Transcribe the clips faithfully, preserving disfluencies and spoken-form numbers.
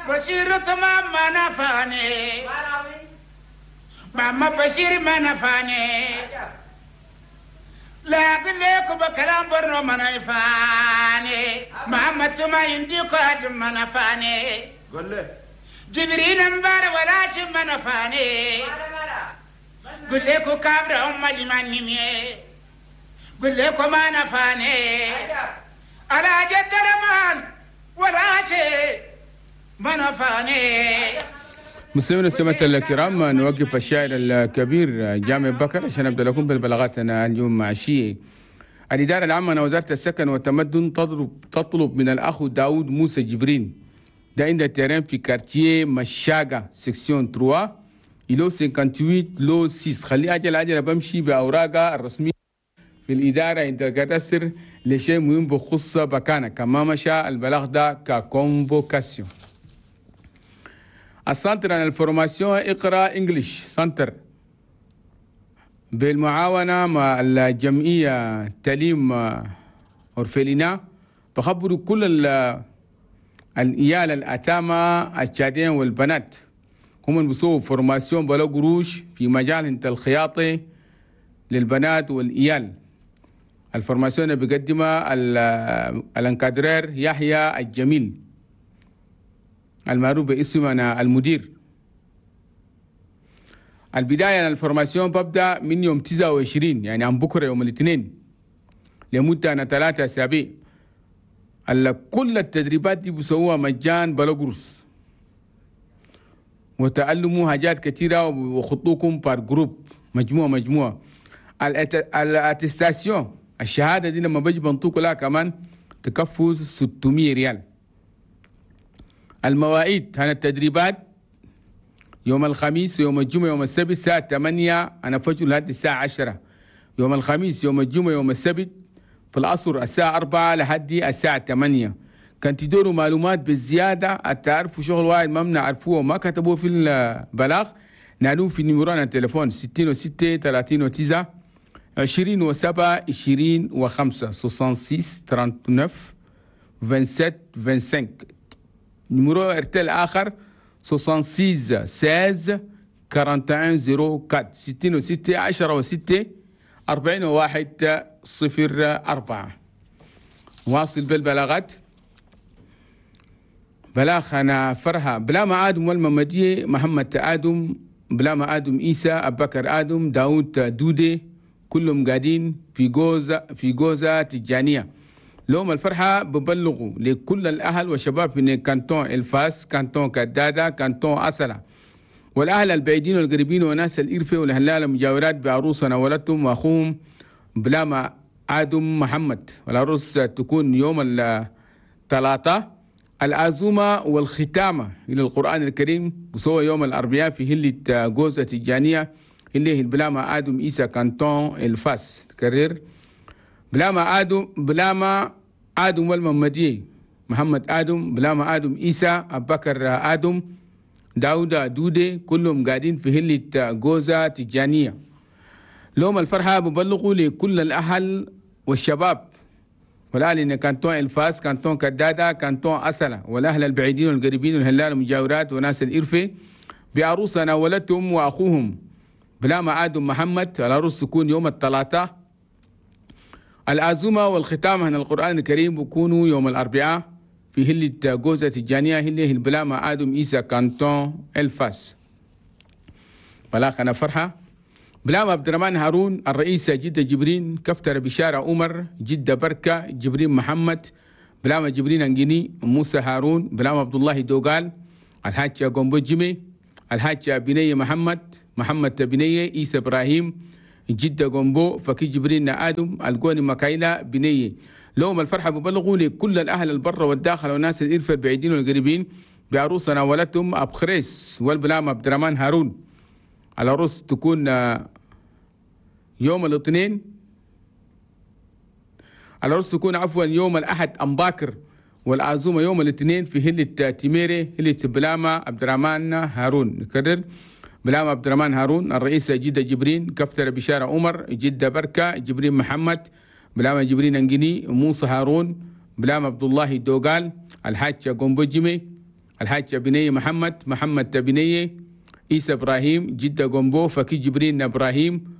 بشير تمام ما نفاني ماما بشير ما نفاني لكن ليك بكلام برنو ما نفاني ماما تما ينديك هاد ما نفاني قول له جبريل مبار ولا شي ما نفاني قل لك كابر أم لمن نمي قل لك ما نفاني على جد رمان ولا شيء ما نفاني. مستمعينا السماء الكرام، نوقف الشاعر الكبير جامع بكر عشان نبدا لكم بالبلاغات اليوم مع الشيء. الإدارة العامة وزارة السكن والتمدن تطلب تطلب من الأخ داود موسى جبرين ده عند terrain في quartier مشاقة section ثلاثة îlot ثمانية وخمسين lot ستة. خليه أجل أجل بمشي بأوراقه الرسمية في الإدارة عند ال cadastre لشيء مهم بخص بكانة كما مشى البلاغ ده ك convocation. ال centre عن ال formation اقرأ English Center بالمعاونة مع الجمعية تليم orphelinat بخبروا كل العيال الأتامة التشاديين والبنات هم اللي بيسووا formation بلا قروش في مجال انت الخياطة للبنات والإيال. ال formation اللي بيقدمها ال encadreur يحيى الجميل المعروف باسم أنا المدير. البداية ال formation ببدأ من يوم تسعة وعشرين، يعني عن بكرة يوم الاثنين، لمدة أنا ثلاثة أسابيع. كل التدريبات دي بيسووها مجان بلا قروش، وتعلموا حاجات كثيرة وخطوكم par groupe، مجموعة مجموعة. ال attestation، الشهادة دي لما بيجي بنطوكوا لها كمان تكفوا ستمية ريال. المواعيد هنا التدريبات يوم الخميس، يوم الجمعة، يوم السبت، الساعة ثمانية أنا فجر لحد الساعة عشرة. يوم الخميس، يوم الجمعة، يوم السبت في العصر الساعة أربعة لحد الساعة ثمانية. كان تدوروا معلومات بالزيادة، تعرفوا شغل واحد ما بنعرفوه وما كتبوه في البلاغ، نالوه في numéro التليفون ستين وستة ثلاثين وتسعة عشرين وسبعة عشرين وخمسة، ستة وستين تسعة وثلاثين سبعة وعشرين خمسة وعشرين. numéro ارتل آخر ستة وستين ستة عشر واحد وأربعين صفر أربعة، ستين وستة عشرة وستة أربعين وواحد صفر أربعة. واصل بالبلاغات. بلاغ أنا فرحة بلا آدم والممدية محمد آدم، بلا آدم إيسى، أبكر آدم، داود دودي، كلهم قاعدين في جوزة في جوزة تجانية. لهم الفرحة ببلغوا لكل الأهل والشباب من canton الفاس، canton كدادة، canton أسلة، والأهل البعيدين والقريبين وناس الإرفة والهلال المجاورات بعروسنا ولدتهم وأخوهم بلاما آدم محمد. والعروس تكون يوم الثلاثاء. العزومة والختامة إلى القرآن الكريم وسوى يوم الأربعاء في هلة جوزة تجانية اللي هي بلاما آدم إيسا، canton الفاس. كرر، بلاما آدم بلاما آدم والممدي محمد آدم، بلاما آدم إيسا، أبكر آدم، داود دودي، كلهم قاعدين في هلة جوزة تجانية. لهم الفرحة ببلغوا لكل الأهل والشباب والأهل إن canton الفاس، canton كدادة، canton أسلة، والأهل البعيدين والقريبين والهلال المجاورات وناس الإرفة بعروسة ناولتهم وأخوهم بلاما آدم محمد. العروس تكون يوم الثلاثاء. العزومة والختام هنا القرآن الكريم بيكونوا يوم الأربعاء في هلة جوزة الجانية هلة البلاما آدم إيسا، canton الفاس. بلاغ أنا فرحة بلام عبد الرحمن هارون الرئيس، جدة جبرين، كفتر بشارة عمر، جدة بركة، جبرين محمد، بلام جبرين أنجيني، موسى هارون، بلام عبد الله دوغال، الحاج قومبو جيمي، الحاج بنية محمد، محمد بنية، عيسى إبراهيم، جدة قومبو، فكي جبرين آدم القوني مكايلة بنية. لهم الفرحة ببلغوا لكل الأهل البر والداخل والناس الإرفة البعيدين والقريبين بعروسة ناولتهم أبخريس والبلام عبد الرحمن هارون. العروس تكون يوم الاثنين، العروس تكون عفوا يوم الأحد أمباكر، والعزومة يوم الاثنين في هلة تيميري، هلة بلامة عبد الرحمن هارون. نكرر، بلامة عبد الرحمن هارون الرئيس، جدة جبرين، كفتر بشارة عمر، جدة بركة، جبرين محمد، بلامة جبرين أنجيني، موسى هارون، بلامة عبد الله دوغال، الحاج قومبو جيمي. الحاج بني محمد محمد بني عيسى إبراهيم جدة جنبو فكي جبرين إبراهيم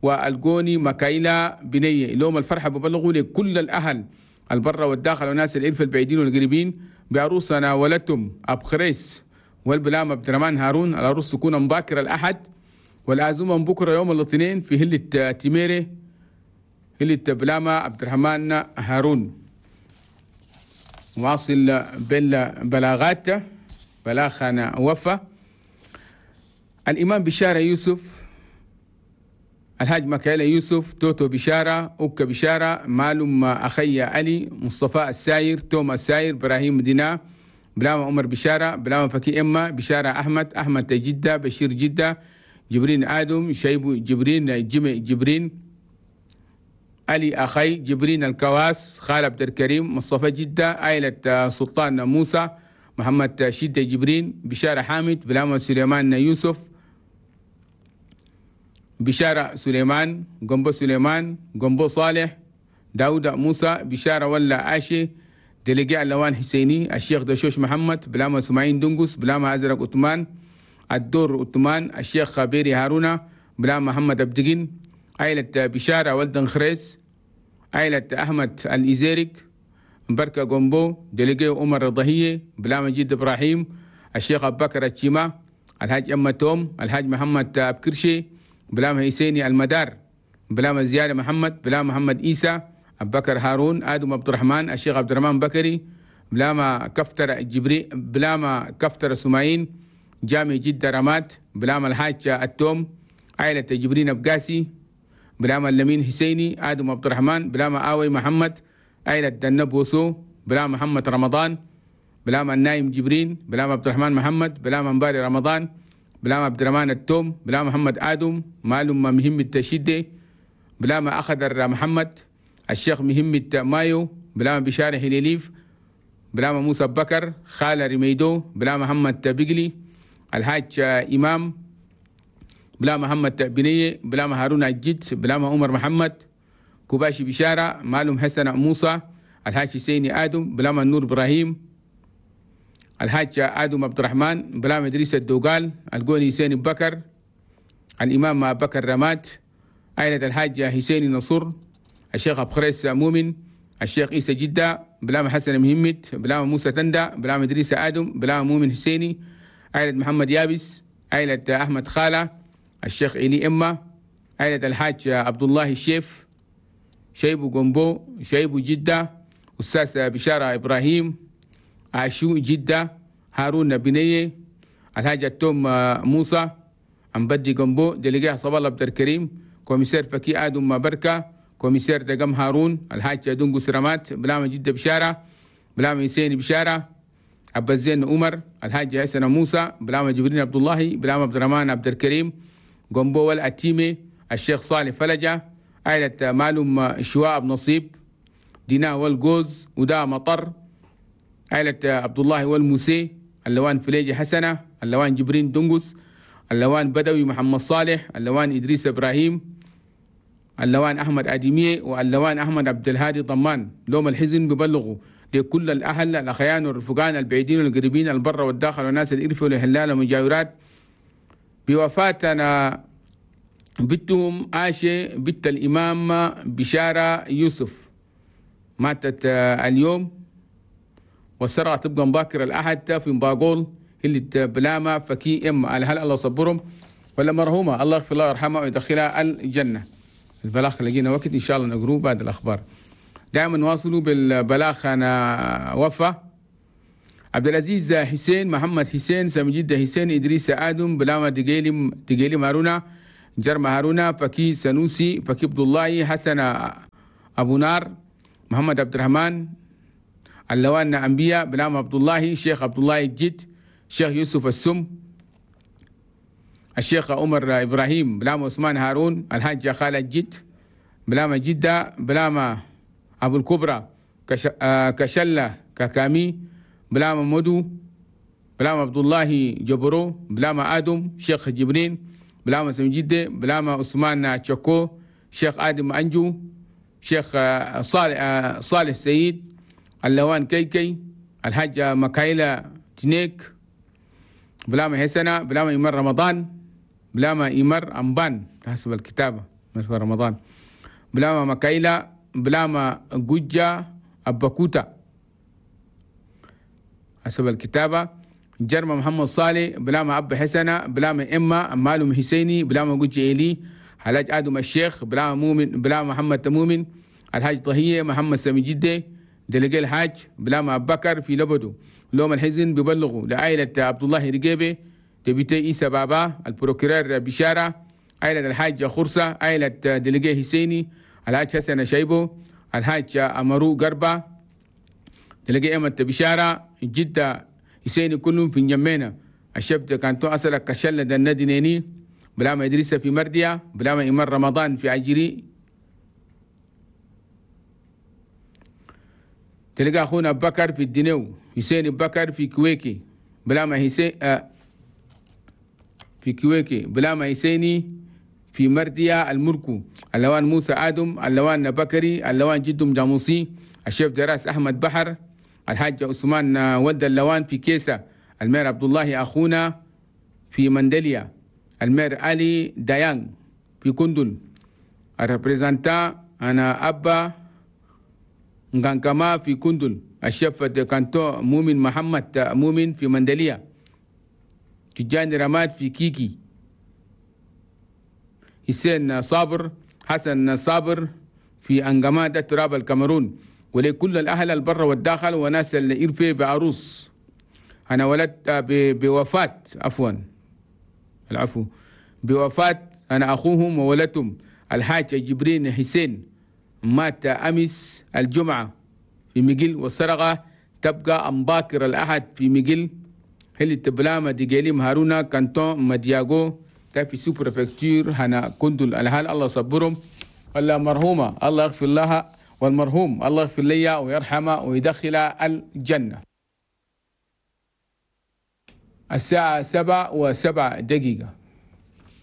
والجوني مكايلا بنية. لهم الفرحة ببلغوا لكل الأهل البرة والداخل وناس الإلف البعيدين والقريبين بعروسنا ولدتم أبخريس والبلام عبد الرحمن هارون. العروس تكون مباكر الأحد والعزومة بكرة يوم الاثنين في هلة تيميري هلة بلامة عبد الرحمن هارون. واصل بالبلاغات بلاغنا وفا الإمام بشارة يوسف الحاج مكايلة يوسف توتو بشارة أوكا بشارة معلوم أخي علي مصطفى الساير توما الساير إبراهيم دينا بلاما عمر بشارة بلاما فكي إما بشارة أحمد أحمد جدة بشير جدة جبرين آدم شيبو جبرين جمي جبرين علي أخي جبرين الكواس خال عبد الكريم مصطفى جدة عائلة سلطان موسى محمد شدة جبرين بشارة حامد بلاما سليمان يوسف بشارة سليمان جنبو سليمان جنبو صالح داود موسى بشارة ولا عاشي دلقاء اللوان حسيني الشيخ دشوش محمد بلاما سماعين دنقس بلاما أزرق عثمان الدور عثمان الشيخ بيري هارونا بلاما محمد أبدقين عائلة بشارة ولدن خريس عائلة أحمد الإزيرك بركة جنبو دلقاء عمر الضهية بلاما جد إبراهيم الشيخ أبو بكر الشيما الحاج أما توم الحاج محمد أبكرشي بلام حسيني المدار بلام زيادة محمد بلام محمد إيسى أبو بكر هارون آدم عبد الرحمن الشيخ عبد الرحمن بكري بلام كفتر جبري بلام كفتر سماعين جامع جدة رمات بلام الحاج التوم عائلة جبرين أبقاسي بلام اللمين حسيني آدم عبد الرحمن بلام آوي محمد عائلة دنب وسو بلام محمد رمضان بلام النايم جبرين بلام عبد الرحمن محمد بلام مباري رمضان بلام عبد الرحمن التوم بلام محمد آدم معلوم مهم التشدي بلام أخضر محمد الشيخ مهمة مايو بلام بشارة هليليف بلام موسى بكر خالة رميدو بلام محمد بقلي الحاج إمام بلام محمد بنية بلام هارون الجد بلام عمر محمد كوباشي بشارة معلوم حسن موسى الحاج حسيني آدم بلام النور إبراهيم الحاج آدم عبد الرحمن بلام إدريس الدوغال الجوني حسين بكر الإمام بكر رماد عائلة الحاج حسين نصر الشيخ أبو خريس مؤمن الشيخ عيسى جدة بلام حسن مهمت بلام موسى تندى بلام إدريس آدم بلام مؤمن حسيني عائلة محمد يابس عائلة أحمد خالة الشيخ إلي إما عائلة الحاج عبد الله الشيف شيبو جنبو شيبو جدة أستاذ بشارة إبراهيم عاشو جدة هارون بنية الحاج التوم موسى عم بدي جنبو دلقاه صبا الله عبد الكريم commissaire فكي آدم بركة commissaire دقم هارون الحاج دونجو سرامات بلام جدة بشارة بلام حسين بشارة عبد الزين عمر الحاج حسن موسى بلام جبرين عبد الله بلام عبد الرحمن عبد الكريم جنبو والأتيمي الشيخ صالح فلجة عائلة معلوم شواء نصيب دينا والجوز ودا مطر عائلة عبد الله والموسي اللوان فليجي حسنة اللوان جبرين دنقس اللوان بدوي محمد صالح اللوان إدريس إبراهيم اللوان أحمد أديمية واللوان أحمد عبد الهادي ضمان. لوم الحزن ببلغوا لكل الأهل الأخيان والرفقان البعيدين والقريبين البر والداخل والناس الإرفة والهلال والمجاورات بوفاتنا بنتهم عاشة بنت الإمام بشارة يوسف ماتت اليوم والسرعة تبقى مباكر الأحد في مباقول اللي بلاما فكي إما على هل الله صبرهم ولا مرهومة الله يغفر الله ويرحمها ويدخلها الجنة. البلاغ لقينا وقت إن شاء الله نقروه بعد الأخبار. دائما نواصلوا بالبلاغ. أنا وفا عبد العزيز حسين محمد حسين سمجد حسين إدريس آدم بلاما دقيلي دقيلي مارونا جرم هارونا فكي سنوسي فكي عبد الله حسن أبو نار محمد عبد الرحمن اللوان أنبياء بلام عبد الله شيخ عبد الله الجد شيخ يوسف السم الشيخ عمر إبراهيم بلام عثمان هارون الحاج خالد جد بلام جدة بلام أبو الكبرى كش... كشلة ككامي بلام مدو بلام عبد الله جبرو بلام آدم شيخ جبرين بلام سمجدة بلام عثمان تشكو شيخ آدم أنجو شيخ صالح صالح سيد اللوان كيكي الحاجة مكايلة تنيك بلاما حسنة بلاما إمر رمضان بلاما إمر أمبان حسب الكتابة مثل رمضان بلاما مكايلا بلاما جوجا أباكوتا حسب الكتابة جرم محمد صالح بلاما أب حسنة بلاما إما مالو حسيني بلاما جوجا إيلي الحاج آدم الشيخ بلاما مؤمن بلاما محمد تمومن الحاج طهية محمد سامي جدة دلقي الحاج بلاما أبو بكر في لبدو لوم الحزن ببلغوا لعائلة عبد الله رقيبي député إيسا بابا ال procureur بشارة عائلة الحاج خرصة عائلة délégué حسيني الحاج حسن شيبو الحاج أمرو قربة délégué أمة بشارة جدة حسيني كلهم في نجمينا الشبت كانتو أصلك كشلة النادي نيني بلاما إدريس في مرديا بلاما إمر رمضان في عجري تلقى أخونا بكر في الدنيو حسين بكر في كويكي بلاما حسين آه في كويكي بلاما حسيني في مرديا المركو اللوان موسى آدم اللوان بكري اللوان جدم جاموسي الشيف دراس أحمد بحر الحاج عثمان ود اللوان في كيسة المير عبد الله أخونا في مندليا المير علي ديان في كندل ال représentant أنا أبا نغانكما في كندل الشيف canton مؤمن محمد مؤمن في مندليا تجاني رماد في كيكي حسين صابر حسن صابر في أنجمادة تراب الكاميرون ولكل الأهل البر والداخل وناس الإرفي بعروس أنا ولدت بوفاة عفوا العفو بوفاة أنا أخوهم وولدتهم الحاج جبرين حسين مات أمس الجمعة في مجل والسرقة تبقى أمباكر الأحد في مجل هل تبلاما ديجيليم هارونا canton مدياغو في sous-préfecture هنا كندل الحال الله صبرهم الله مرحومة الله يغفر لها والمرحوم الله يغفر لي ويرحمه ويدخل الجنة. الساعة سبعة وسبع دقيقة.